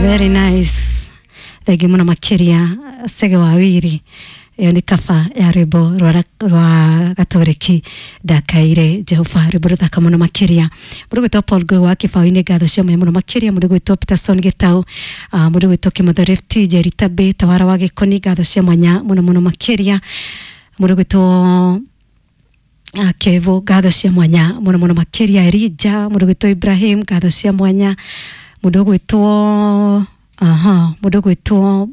Very nice. Thengiũ mũno makĩria Sege wa Wiri. Ĩyo nĩ kaba ya rwĩmbo rwa gatoreki ndakaire Jehova, rwĩmbo rũthaka mũno makĩria. Mũndũ gwĩtwo Paul Ngũĩ wa Kĩbaũ-inĩ, ngatho cia mwanya mũno makĩria. Mũndũ gwĩtwo Peterson Gĩtau, mũndũ gwĩtwo Kĩmotho Rift, Njeri Tabĩ, Tawara wa Gĩkoni, ngatho cia mwanya mũno mũno makĩria. Mũndũ gwĩtwo Kevo, ngatho cia mwanya mũno mũno makĩria. Elija, mũndũ gwĩtwo Ibrahim, ngatho cia mwanya. Mũndũ gwĩtwo aha, mũndũ gwĩtwo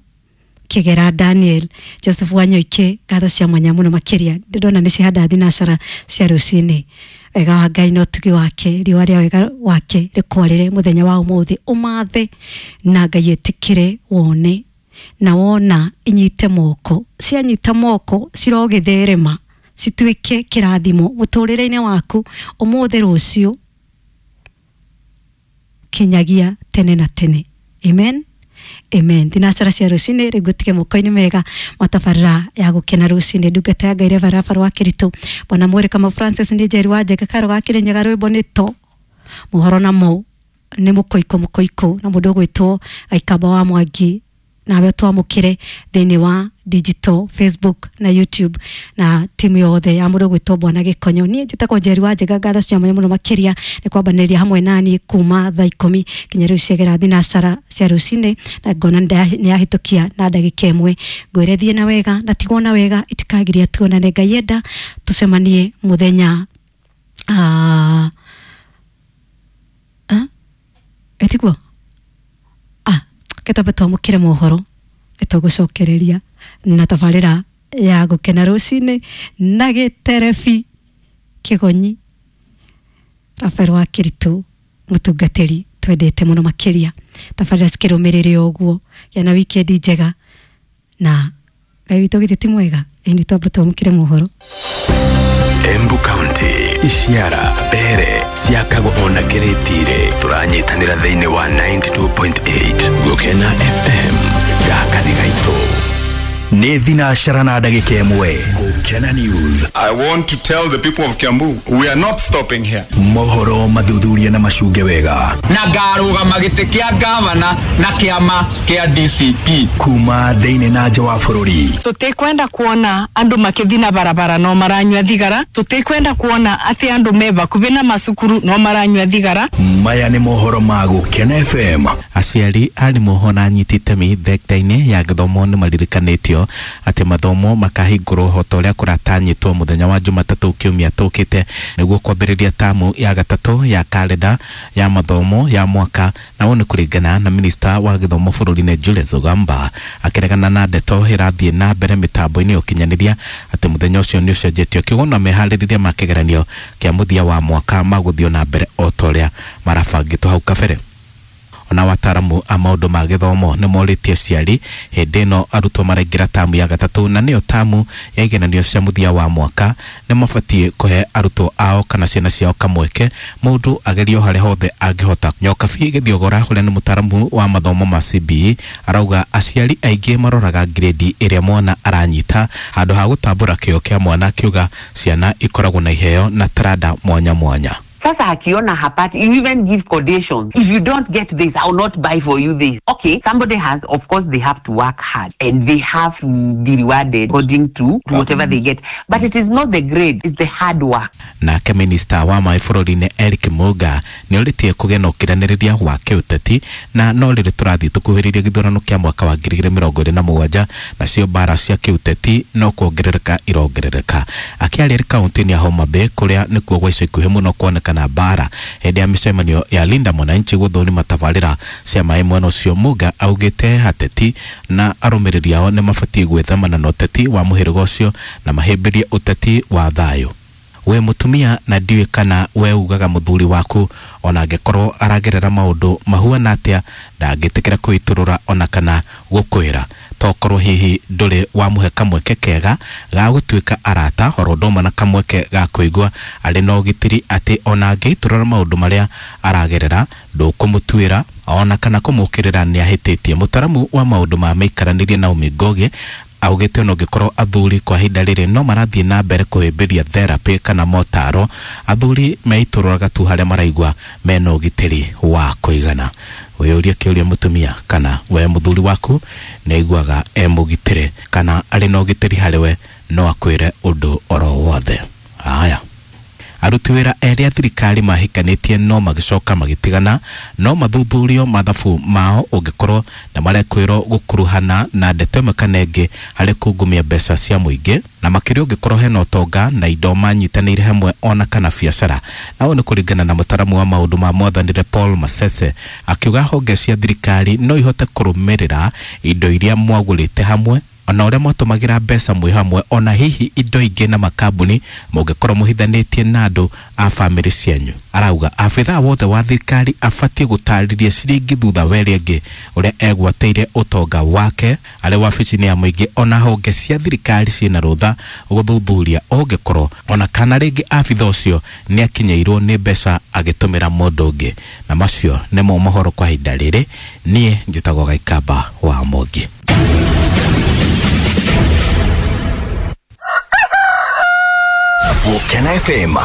Kĩgera Daniel, Joseph Wanyoike, ngatho cia mwanya mũno makĩria. Ndĩrona nĩ cihanda thinacara cia rũcinĩ. Wega wa Ngai na ũtugi wake, riũa rĩa wega wake rĩkwarĩre mũthenya wa ũmũthĩ, ũmathe na Ngai ĩtĩkĩre wone, na wona inyite moko, cianyita moko cirogĩtherema cituĩke kĩrathimo mũtũrĩre-inĩ waku ũmũthĩ, rũciũ, kinyagia tene na tene. Amen, amen. Thinacara cia rũcinĩ rĩu ngũtige moko-inĩ mega matabarĩra ya gũkena rũcinĩ. Ndungata ya Ngai Reverend wa Kĩritũ, Bwana Mwĩrĩ Kama Francis nĩ Njeri wa Njenga Karo ga Kĩrĩnyaga, rwĩmbo nĩ to mohoro namo nĩ mũkoiko mũkoiko na mũndũ ũgwĩtwo Gaikamba wa Mwangi. Nawe twamũkĩre thĩinĩ wa digital Facebook na YouTube na timu yothe ya mũndũ gwĩtwo Bwana Gĩkonyo. Niĩ njĩtagwo Njeri wa Njega, ngatho cia mwanya mũno makĩria nĩ kwambanĩria hamwe naniĩ kuma thaa 10 kinya rĩu ciagera thinacara cia rũcinĩ, na ngona nĩ yahĩtũkia na ndagĩka 1. Ngwĩre thiĩ na wega na tigwo na wega, itikagiria tuonane. Ngai enda tũcemanie mũthenya ĩtiguo ketwambe twamũkĩre mohoro ĩtũgũcokereria na tabarĩra ya gũkena rũcinĩ na gĩterebi kĩgonyi Rafael wa Kĩritũ, mũtungatĩri twendete mũno makĩria. Tabarĩra cikĩrũmĩrĩre ũguo, gĩa na wikendi njega na Ngai witũ githĩ ti mwega? Ĩni twambe twamũkĩre mohoro. Embu County, Ishiara, Mbere, ciakagwo ona Kĩrĩtire. Tũranyitanĩra thĩinĩ wa 92.8 Gũkena FM. Gaka nĩ gaitũ. Nĩ thinacara na ndagĩka 1. Gũkena News. I want to tell the people of Kiambu, we are not stopping here. Mohoro mathuthuria na macunge wega. Na ngarũgama gĩtĩ kĩa gavana na kĩama kĩa DCP. Kuma thĩinĩ na nja wa bũrũri. Tũtikwenda kuona andũ makĩthi na barabara no maranyua thigara. Tũtikwenda kuona atĩ andũ me bakubi na macukuru no maranyua thigara. Maya nĩ mohoro ma Gũkena FM. Aciari, arimũ ona anyiti itemi thekta-inĩ ya gĩthomo nĩ maririkanĩtio atĩ mathomo makahingũrwo o ta ũrĩa kũratanyĩtwo mũthenya wa Jumatatũ kiumia tũkĩte, nĩguo kwambĩrĩria tamu ya gatatũ ya kalenda ya mathomo ya mwaka. Na ũũ nĩ kũringana na minista wa gĩthomo bũrũri-inĩ Julius Ogamba, akĩregana na ndeto ĩrathiĩ na mbere mĩtambo-inĩ ya ũkinyanĩria atĩ mũthenya ũcio nĩ ũcenjetio, kiugo na meharĩrĩria ma kĩgeranio kĩa mũthia wa mwaka magũthiĩ na mbere o ta ũrĩa marabangĩtwo hau kabere. Ona wataaramu a maũndũ ma gĩthomo nĩ morĩtie aciari hĩndĩ ĩno arutwo maraingĩra tamu ya gatatũ, na nĩyo tamu ya igeranio cia mũthia wa mwaka, nĩ mabatiĩ kũhe arutwo ao kana ciana ciao kamweke mũndũ agerio harĩa hothe angĩhota. Nyokabi Gĩthiogora, ũrĩa nĩ mũtaaramu wa mathomo ma CBE, arauga aciari aingĩ maroraga grade ĩrĩa mwana aranyita handũ ha gũtambũra kĩo kĩa mwana, akiuga ciana ikoragwo na iheo na taranda mwanya mwanya. Sasa akiona hapati, you even give conditions. If you don't get this, I will not buy for you this. Okay, somebody has, of course, they have to work hard and they have to be rewarded according to whatever they get. But it is not the grade, it's the hard work. Nake minista wa maĩ bũrũri-inĩ Eric Muga nĩ orĩtie kũgĩa na ũkiranĩrĩria wa kĩũteti, na no rĩrĩ tũrathiĩ tũkuhĩrĩirie gĩthurano kĩa mwaka wa 2027, nacio mbara cia kĩũteti no kuongerereka irongerereka. Akĩaria kaunti-inĩ ya Homa Bay, kũrĩa nĩkuo gwa ica ikuhĩ mũno kuoneka na mbara hĩndĩ ya mĩcemanio ya Linda Mwananchi gũthũrima tabarĩra cia maĩ mwena ũcio, Muga augĩte ateti na arũmĩrĩri ao nĩ mabatiĩ gwĩthemana na ũteti wa mũhĩrĩga ũcio na mahĩmbĩrie ũteti wa thayũ. We mũtumia, na ndiũĩ kana we ugaga mũthuri waku ona angĩkorwo aragerera maũndũ mahuana atĩa ndangĩtĩkĩra kwĩitũrũra ona kana gũkwĩra, tokorwo hihi ndũrĩ wamũhe kamweke kega ga gũtuĩka arata oro ũndũ ũmwe na kamweke ga kũigua arĩ na ũgitĩri atĩ ona angĩitũrũra maũndũ marĩa aragerera ndũkũmũtuĩra ona kana kũmũkĩrĩra nĩ ahĩtĩtie. Mũtaramu wa maũndũ ma mĩikaranĩrie Naomi Ngoge Augĩte ona ũngĩkorwo athuri kwa ihinda rĩrĩ no marathiĩ na mbere kũhĩmbĩria therapy kana motaro, athuri meitũrũraga tu harĩa maraigua mena ũgitĩri wa kũigana. Wĩyũrie kĩũria mũtumia kana we mũthuri waku nĩ aiguaga e mũgitĩre kana arĩ na ũgitĩri harĩ we, no akwĩre ũndũ oro wothe. Haya, aruti wĩra erĩ a thirikari mahikanĩtie no magĩcoka magĩtigana, no mathuthurio mathabu mao ũngĩkorwo na marekwĩrwo gũkuruhana na ndeto ĩmwe kana ĩngĩ harĩ kungumia mbeca cia mũingĩ, na makĩria ũngĩkorwo hena ũtonga na indo manyitanĩire hamwe ona kana biacara. Na ũũ nĩ kũringana na mũtaramu wa maũndũ ma mwathanĩre Paul Masese, akiuga honge cia thirikari no ihote kũrũmĩrĩra indo iria mwagũrĩte hamwe ona ũrĩa mwatũmagĩra mbeca mwĩ hamwe, ona hihi indo ingĩ na makambuni mũngĩkorwo mũhithanĩtie na andũ a bamĩrĩ cianyu. Arauga abithaa wothe wa thirikari abatiĩ gũtarĩria ciringi thutha wa ĩrĩa ĩngĩ ũrĩa egwatĩire ũtonga wake arĩ wabici-inĩ ya mũingĩ, ona honge cia thirikari ciĩna rũtha gũthuthuria ũngĩkorwo ona kana rĩngĩ abithaa ũcio nĩ akinyĩirwo nĩ mbeca agĩtũmĩra mũndũ ũngĩ. Na macio nĩmo mohoro kwa ihinda rĩrĩ. Niĩ njĩtagwo Gaikamba wa Mwangi. Gũkena FM,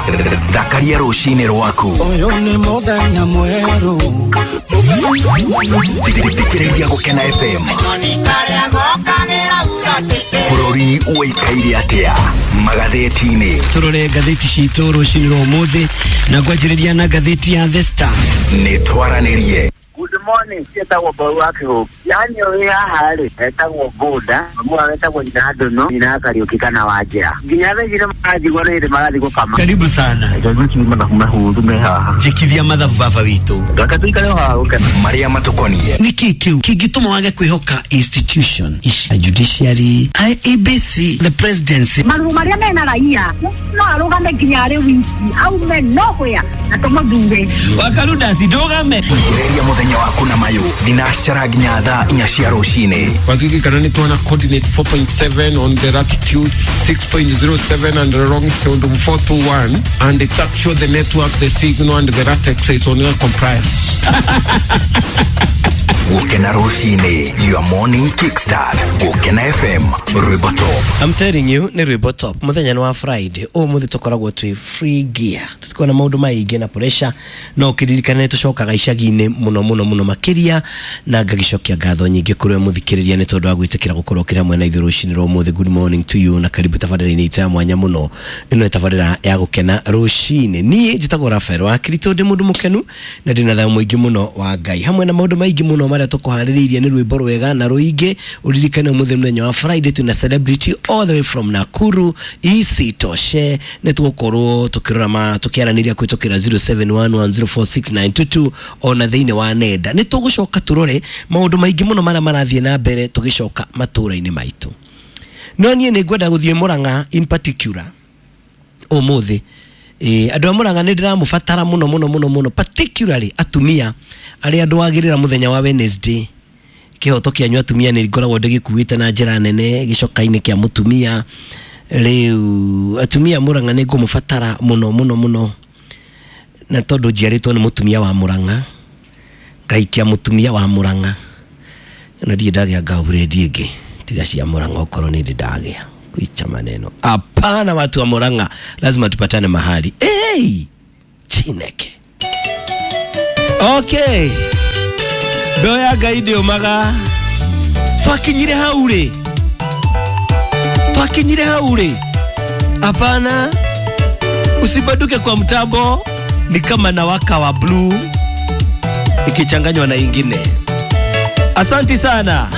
thakaria rũcinĩ rwaku. Ũyũ nĩ mũthenya mwerũ. Thikĩrĩria Gũkena FM. Bũrũri ũikaire atĩa magathĩti-inĩ? Tũrore ngathĩti citũ rũcinĩ rwa ũmũthĩ na ngwanjĩrĩria na ngathĩti ya The Star. Nĩ twaranĩrie. Good morning, cietagwo Mbau wa Kĩhũngĩ. Yani ũrĩ haha rĩ, etagwo Bũnda, mamu etagwo nyina Ndono, nyina Kariũki kana Wanjĩra. Nginya thaa ici nĩmaranjigua nĩ hĩndĩ marathiĩ gũkama. Karibu sana. Mathabu mahũthũ me haha. Njĩkithia mathabu baba witũ. Reke tũikare o haha gũkena. Marĩa matũkoniĩ. Nĩkĩ kĩu kĩngĩtũma wage kwĩhoka institution ici, judiciary, IEBC, the presidency? Maruo marĩa mena raia no arũgame nginya arĩ wiki aume nowhere na tũmũthure. Wakarudasi ndũgame. Thikĩrĩria mũthenya waku na mayũ thinacara nginya thaa 4 cia rũcinĩ. Wakikikana nĩ tuona coordinate 4.7 on the latitude, 6.07 and the longitude 421, and it's actually the network, the signal and the latex is on your compliance. Gũkena rũcinĩ, your morning kickstart. Gũkena FM, rwĩmbo top. I'm telling you, nĩ rwĩmbo top. Mũthenya nĩ wa Friday, ũmũthĩ tũkoragwo twĩ free gear. Tũtikoragwo na maũndũ maingĩ na pressure, no ũkĩririkana nĩ tũcokaga icagi-inĩ mũno mũno mũno makĩria, na ngagĩcokia ngatho nyingĩ kũrĩ we mũthikĩrĩria nĩ tondũ wa gwĩtĩkĩra gũkorwo ũkĩrĩ hamwe na ithuĩ rũcinĩ rwa ũmũthĩ. Good morning to you na karibu tabarĩra-inĩ itũ ya mwanya mũno. Ĩno nĩ tabarĩra ya Gũkena rũcinĩ. Niĩ njĩtagwo Rafael wa Kirito, ndĩ mũndũ mũkenu na ndĩ na thayũ mũingĩ mũno wa Ngai, hamwe na maũndũ maingĩ mũno marĩa tũkũharĩrĩirie nĩ rwĩmbo rwega na rũingĩ. Ũririkane ũmũthĩ mũthenya wa Friday twĩna celebrity all the way from Nakuru, isitoshe nĩ tũgũkorwo tũkĩrora ma tũkĩaranĩria kũhĩtũkĩra 0711046922 ona thĩinĩ wa nenda. Nĩ tũgũcoka tũrore maũndũ maingĩ mũno marĩa marathiĩ na mbere tũgĩcoka matũũra-inĩ maitũ. No niĩ nĩ ngwenda gũthiĩ Murang'a in particular ũmũthĩ. Andũ a Murang'a nĩ ndĩramũbatara mũno mũno mũno mũno, particularly atumia arĩa ndwagĩrĩra mũthenya wa Wednesday. Kĩhoto kĩanyu atumia nĩ ngoragwo ndĩgĩkuĩte na njĩra nene gĩcoka-inĩ kĩa mũtumia. Rĩu atumia Murang'a nĩ ngũmũbatara mũno mũno mũno, na tondũ njiarĩtwo nĩ mũtumia wa Murang'a, ngaikia mũtumia wa Murang'a, na ndirĩ ndagĩa ngaburedi ĩngĩ tiga cia Murang'a, okorwo nĩ ndĩ ndagĩa kuicha maneno. Hapana, watu wa Murang'a lazima tupatane mahali. Hey, Chineke. Okay. Mbeo ya Ngai ndĩũmaga. Twakinyire hau rĩ? Twakinyire hau rĩ? Hapana. Usibanduke kwa mtambo, ni kama nawaka wa blue ikichanganywa na ingine. Asanti sana.